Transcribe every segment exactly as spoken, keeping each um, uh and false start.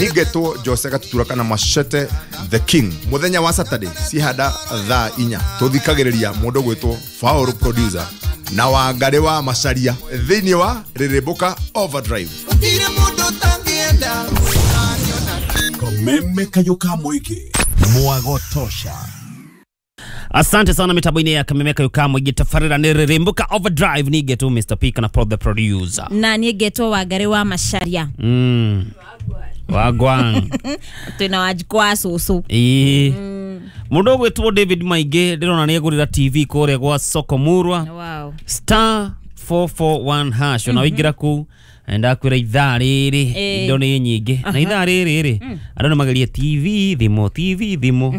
Nigetwo Jose Gatutura kana Machete the King. Muthenya wa Saturday cihanda thaa inya tuthikagiriria mundu gwitwo Faulu producer na Wangari wa Macharia thiini wa Rĩrĩmbũka Overdrive. Kameme kayoka mwiki mwagotosha. Asante sana mitambo-inĩ ya Kameme kayoka mwiki tafarira ni Rĩrĩmbũka Overdrive. Nigetwo Mister P kana Pro the producer na nigetwo Wangari wa Macharia. Mm. Wagwan twina wajikwa susu ii mundu gwitwo David Maingi ndirona ni egurira T V kuria gwa Soko Murwa. Wow. Star four four one hash ona wingira ku ndakwira ithaa riri indo ni nyingi na ithaa riri ri andu ni magerie T V thimo T V thimo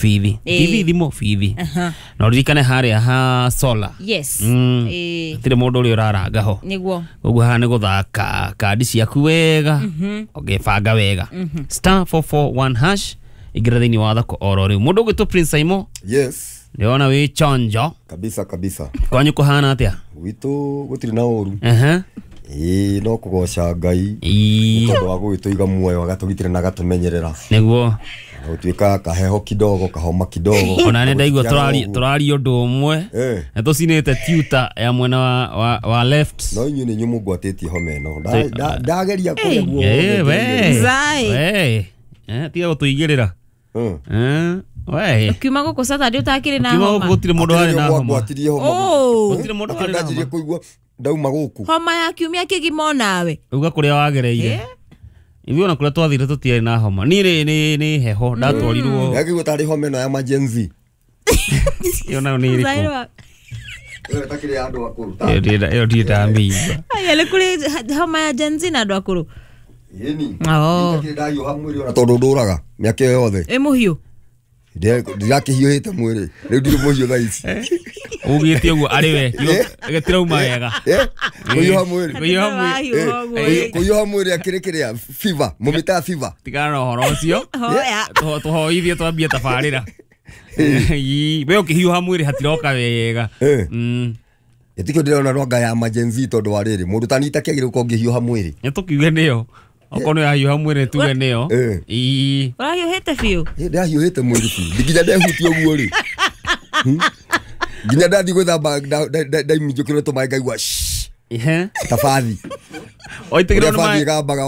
bithi T V thimo bithi na uririkane haria ha solar. Yes. Eh tire mundu uri uraranga ho niguo uguo haha ni guthaka kandi ciaku wega ugibanga wega. Star four four one hash ingira thiini wa thoko oro riu mundu gwitwo Prince Saimo. Yes. Ndiona wi chonjo kabisa kabisa. Kwanyu kuhana atia? Gwitu gutiri na uru. Ehe. Ii no kugoca Ngai tondu wa gwituiga muoyo agatugitira na agatumenyerera niguo gutuika kaheho kidogo kahoma kidogo. Ona nĩ ndaigua turari turari undu umwe na tucinite tuta ya mwena wa, wa, wa left. No inyuĩ nĩ inyuĩ mũngwatĩtie homa ĩno ndageria kũrĩa guo. Eh we we eh tiga gũtũigĩrĩra. Eh we ukiuma gũkũ Saturday utakĩrĩ na homa. Ukiuma gũkũ gũtirĩ mũndũ warĩ na homa. Gwatirie homa. Gũtirĩ mũndũ warĩ na homa. Kũigua ndauma gũkũ homa ya kiumia kĩgima nawe uga kũrĩa wagereire. Ithuĩ ona kũrĩa twathire tũtiarĩ na homa. Niĩ rĩ nĩ nĩ heho ndatwarirwo. Yakigua tarĩ homa ĩno ya emergency. Ĩyo nayo nĩ ĩrĩkũ? Ĩyo ĩtakĩrĩ ya andũ akũrũ. Ĩyo ndirĩ ndamĩigua. Aya nĩ kũrĩ homa ya Gen Z na andũ akũrũ. Ĩni. Ĩtakĩrĩ ndahiũha mwĩrĩ ona tondũ ndũraga mĩaka ĩyo yothe. Ĩ mũhiũ. Ndirakĩhiũhĩte mwĩrĩ rĩu ndirĩ mũhiũ thaa ici. Ugĩte ũguo arĩ we gĩtirauma wega. Kũhiũha mwĩrĩ kũhiũha mwĩrĩ akĩrĩ kĩrĩa fever mũmĩtaga fever. Tigana na ũhoro ũcio tũhoithie twambie tabarĩra. We ũkĩhiũha mwĩrĩ hatiroka wega. Ĩtikĩo ndĩrona rwanga ya emergency tondũ wa rĩrĩ mũndũ ta niĩ itakĩagĩrĩire gũkorwo ngĩhiũha mwĩrĩ. Nĩ tũkiuge nĩyo okorwo nĩ ũrahiũha mwĩrĩ tuge nĩyo. Ii ũrahiũhĩte biũ. Ndĩrahiũhĩte mwĩrĩ biũ nginya ndehutia ũguo rĩ nginya ndathiĩ gwĩthamba ndaiminjũkĩrwo tũmaĩ ngaigua ta bathi. Oitĩkĩrwo nĩ maĩ ĩgambaga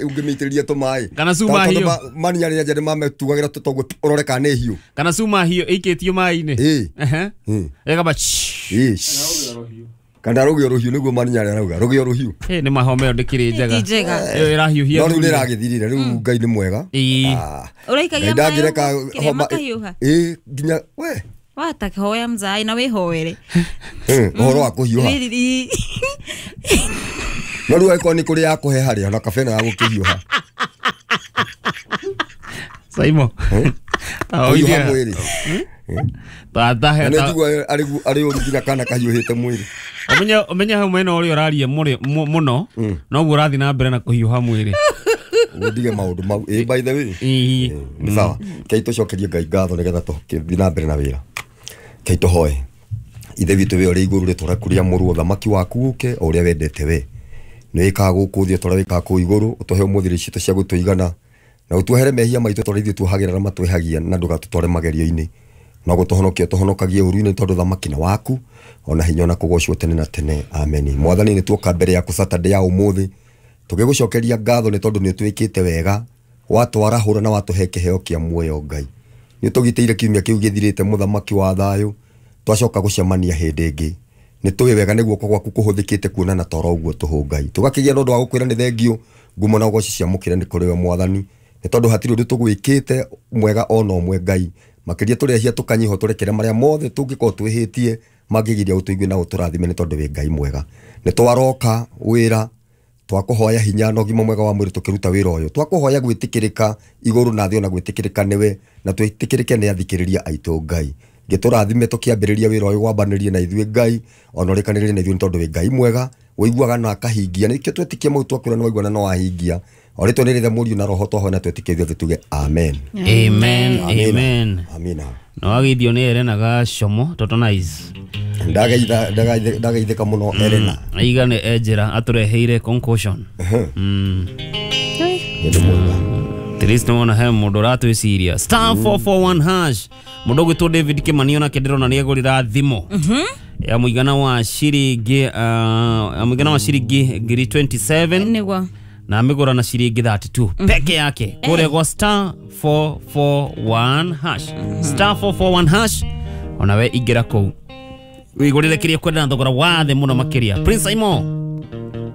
ũngĩmĩitĩrĩria tũmaĩ kana cuma hiũ maninya rĩrĩa nja nĩmametugagĩra tũtoguo ũrore kana nĩ hiũ kana cuma hiũ ĩikĩtio maĩ-inĩ. Ĩgamba kana rũgĩo rũhiũ nĩguo maninya arĩa arauga rũgĩo rũhiũ. Ĩ nĩ mahoma ĩyo ndĩkĩrĩ njega ĩyo ĩrahiũhia no rĩu nĩ ĩragĩthirire rĩu Ngai nĩ mwega. Ũraikagia maĩ kĩrĩa makahiũha. Ĩ nginya we wata hoya mzai na wĩhoere ũhoro wa kũhiũha no rĩu angĩkorwo nĩ kũrĩ ya kũheha rĩ ona kabe ya gũkĩhiũha. Saimo kũhiũha mwĩrĩ tatahe na nĩnjigua arĩ ũru nginya kana kahiũhĩte mwĩrĩ. Ũmenye ũmenye hau mwena ũrĩa ũraria mũno noguo ũrathiĩ na mbere na kũhiũha mwĩrĩ. Ũtige maũndũ mau. Ĩ by the way nĩ sawa kei tũcokerie Ngai ngatho nĩgetha tũgĩthiĩ na mbere na wĩra. Kei tũhoe. Ithe witũ we ũrĩ igũrũ rĩtwa rĩaku rĩamũrwo ũthamaki waku ũke o ũrĩa wendete we nĩ wĩkaga gũkũ thĩ o ta ũrĩa wĩkaga kũu igũrũ. Ũtũhe ũmũthĩ irio citũ cia gũtũigana na ũtuohere mehia maitũ ta ũrĩa ithuĩ tuohagĩra arĩa matwĩhagia na ndũgatũtware magerio-inĩ no gũtũhonokia ũtũhonokagie ũũru-inĩ tondũ ũthamaki nĩ waku ona hinya ona kũgocwo tene na tene. Ameni. Mwathani nĩ tuoka mbere yaku Saturday ya ũmũthĩ tũgĩgũcokeria ngatho nĩ tondũ nĩ ũtwĩkĩte wega watwarahũra na watũhe kĩheo kĩa muoyo Ngai. Nĩ ũtũgitĩire kiumia kĩu gĩthirĩte mũthamaki wa thayũ twacoka gũcemania hĩndĩ ĩngĩ. Nĩ tũĩ wega nĩ guoko gwaku kũhũthĩkĩte kuonana toro ũguo tũhũ Ngai. Tũgakĩgĩa na ũndũ wa gũkwĩra nĩ thengio ngumo na ũgoci ciamũkĩre nĩ kũrĩ we Mwathani nĩ tondũ hatirĩ ũndũ tũgwĩkĩte mwega ona ũmwe Ngai. Makĩria tũrehia tũkanyiha tũrekere marĩa mothe tũngĩkorwo twĩhĩtie mangĩgiria ũtũigue na ũtũrathime nĩ tondũ wĩ Ngai mwega. Nĩ twaroka wĩra twakũhoya hinya na ũgima mwega wa mwĩrĩ tũkĩruta wĩra ũyũ. Twakũhoya gwĩtĩkĩrĩka igũrũ na thĩ ona gwĩtĩkĩrĩka nĩwe na twĩtĩkĩrĩke nĩ athikĩrĩria aitũ Ngai. Ngĩtũrathime tũkĩambĩrĩria wĩra ũyũ wambanĩrie na ithuĩ Ngai ona ũrĩkanĩrie na ithuĩ nĩ tondũ wĩ Ngai mwega ũiguaga na akahingia nĩkĩo twĩtĩkia mau twakwĩra nĩ waigua na no wahingia. O rĩtwa nĩ rĩthe Mũriũ na Roho twahoya na twĩtĩkie ithuothe tuge amen. Amen. Amen. Amina. No wageithio nĩ Elena Gacomo Toto Nice. Ndagaitha ndagaithĩka mũno Elena. Aiga nĩ enjera atũreheire concussion. Mm. Nĩ mwega. At least nĩwona he mũndũ ũratwĩciria star four four one hash. Mũndũ ũgwĩtwo David Kĩmani onake ndĩrona nĩegũrĩra thimũ ya mũigana wa ciringi uh, ya mũigana wa ciringi ngiri twenty seven nĩguo na amĩgũra na ciringi thirty two peke yake kũrĩa gwa star four four one hash star four four one hash onawe ingĩra kũu wĩgũrĩre kĩrĩa ũkwenda na thogora wa thĩ mũno makĩria. Prince Aimo.